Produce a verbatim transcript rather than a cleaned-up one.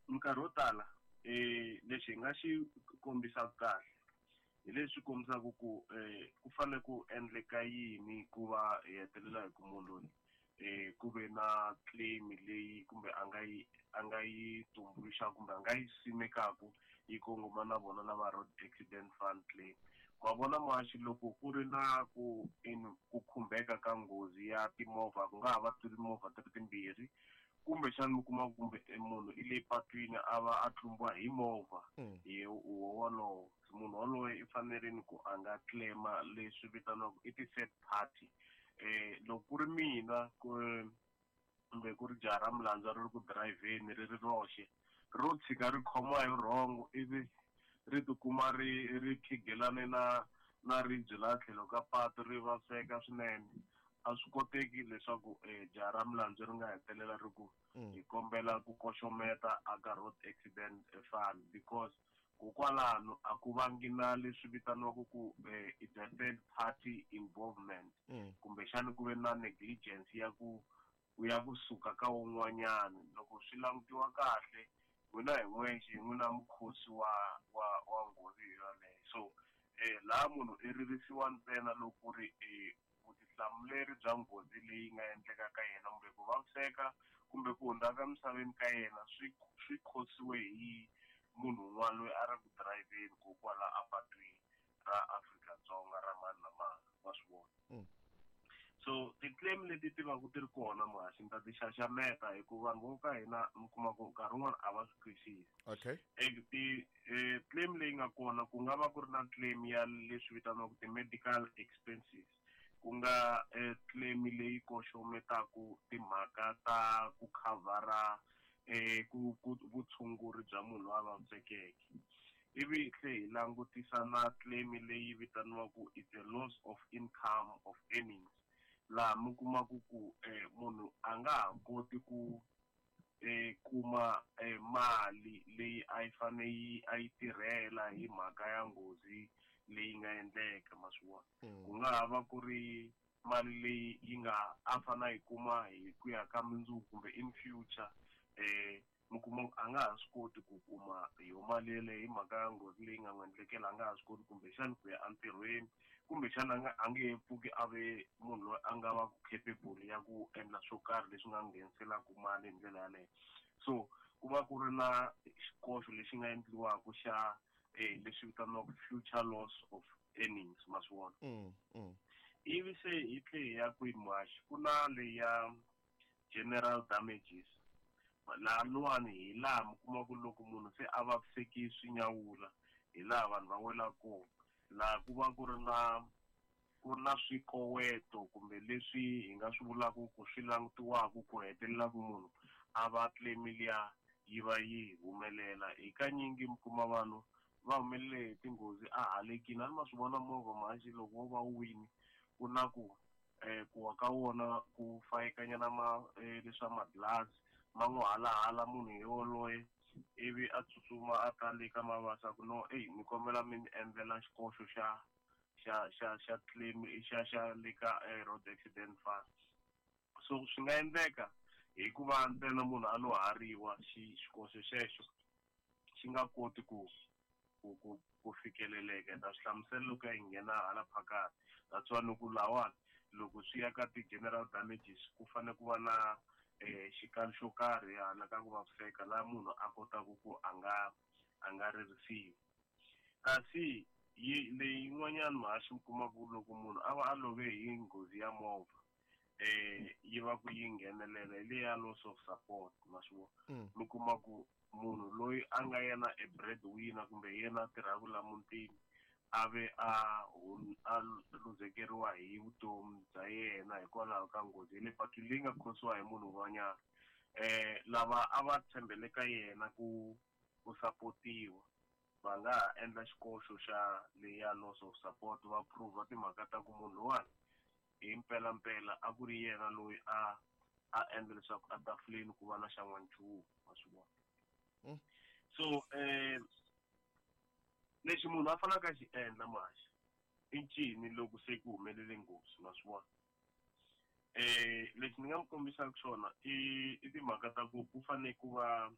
Minkarhi yo tala eh lexi hi nga xi kombisaka kahle hi leswi kombisaka ku eh ku fanele ku endleka yini ku va hi hetelela hi ku munhu loyi eh ku ve na claim leyi kumbe a nga yi a nga yi tumbuluxa kumbe a nga yi simekaku yi kongoma na vona lava road accident fund claim. Ma vona muhaxi, loko ku ri na ku in ku khumbeka ka nghozi ya timovha, ku nga ha va timovha ti ri timbirhi, kumbexana mi kuma kumbe munhu i le patwini a va a tlumbiwa hi movha hi wolowo, munhu wolowo i fanerile ku a nga claim-a leswi vitaniwaka i ti-third party. Eh loko ku ri mina kumbe ku ri jaha ra milandzu ri ri ku dirayivheni ri ri roxe, ro tshika ri khomiwa hi rhongo ivi ri tikuma ri ri khigelane na na ribye laha tlhelo ka patu ri vaviseka swinene, a swi koteki leswaku jaha ra milandzu ri nga hetelela ri ku hi kombela ku koxometa aka road accident fund, because kokwalano a ku vangi na leswi vitaniwaka ku it's a third party involvement, kumbexana ku ve na negligence ya ku ya kusuka ka wun'wanyana. Loko swi langutiwa kahle, n'wina hi n'wexe hi n'wina mukhosi wa wa wa nghozi yoleyo. So eh laha munhu i ririsiwa ntsena loko ku ri vutihlamuleri bya nghozi leyi nga endleka ka yena kumbe ku vaviseka kumbe ku hundza ka misaveni ka yena swi swi khosiwe hi munhu un'wana loyi a ri ku dirayivheni kokwala apatwini ra Afrika-Dzonga ra mani na mani, wa swi vona. So ti-claim leti ti va ku ti ri kona muhaxi ni ta ti xaxameta hikuva vanhu vo ka hina mi kuma ku nkarhi wun'wani a va swi twisisi. Okay. Ti claim leyi nga kona ku nga va ku ri na claim ya leswi vitaniwaka ti-medical expenses, ku nga claim leyi koxometaku timhaka ta ku khavhara eh ku ku vutshunguri bya munhu loyi a vavisekeke. Ivi tlhe hi langutisa na claim leyi vitaniwaka it's a loss of income of earnings, laha mi kumaku ku munhu a nga ha koti ku kuma mali leyi a yi fane yi a yi tirhela hi mhaka ya nghozi leyi nga endleka, ma swi vona. Ku nga ha va ku ri mali leyi yi nga a fane a yi kuma hi ku ya ka mundzuku kumbe in future, eh mi kuma a nga ha swi koti ku kuma yo mali yeleyo hi mhaka ya nghozi leyi nga n'wi endlekela, a nga ha swi koti kumbexana ku ya entirhweni, kumbexana a nga a nge he pfuki a ve munhu loyi a nga va ku capable ya ku endla swo karhi leswi nga ngheniselaka mali hi ndlela yaleyo. So ku va ku ri na xikoxo lexi nga endliwaka xa eh leswi vitaniwaka future loss of earnings, ma swi vona. Ivi se hi tlhe hi ya kwihi muhaxi, ku na leyi ya general damages. Laha luwani hi laha mi kuma ku loko munhu se a vaviseki swi nyawula, hi laha vanhu va welaka kona. Laha ku va ku ri na ku ri na swikoweto kumbe leswi hi nga swi vulaka ku swi langutiwaka ku hetelela ku munhu a va claim liya yi va yi humelela. Hi kanyingi mi kuma vanhu va humelele hi tinghozi a halekini, a ni ma swi vona movha muhaxi loko wo va wu wini ku na ku eh ku wa ka wona ku fayekanyana ma leswa madlasi ma n'wi halahala munhu yoloye, ivi a tsutsuma a ta le ka mavasa ku no ey ni kombela mi ni endlela xikoxo xa xa xa xa claim xa xa le ka road accident fund. So swi nga endleka hikuva ntsena munhu a lo hariwa xi xikoxo xexo xi nga koti ku ku ku ku fikeleleka. Ta swi hlamusela loko ya nghena hala phakathi. That's why loko lawani loko swi ya ka ti-general damages ku fanele ku va na eh xikalo xo karhi hala ka ku vaviseka laha munhu a kotaka ku a nga a nga ririsiwi. Kasi yi leyi yin'wanyana muhaxi mi kuma ku loko munhu a va a love hi nghozi ya movha eh yi va ku yi nghenelela hi leya loss of support, ma swi vona. Mi kuma ku munhu loyi a nga yena a breadwinner kumbe yena a tirhaka la mutini a ve a a luzekeriwa hi vutomi bya yena hikwalaho ka nghozi ya le patwini leyi nga khosiwa hi munhu un'wanyana. Eh lava a va tshembele ka yena ku ku sapotiwa va nga ha endla xikoxo xa leya loss of support, va prove timhaka ta ku munhu luwani hi mpelampela a ku ri yena loyi a a endla leswaku a tafuleni ku va na xan'wanchumu, ma swi vona. So eh lexi munhu a faneleke a xi endla muhaxi i ncini loko se ku humelele nghozi, ma swi vona. Eh lexi ni nga mi kombisaka xona i i timhaka ta ku ku fanele ku va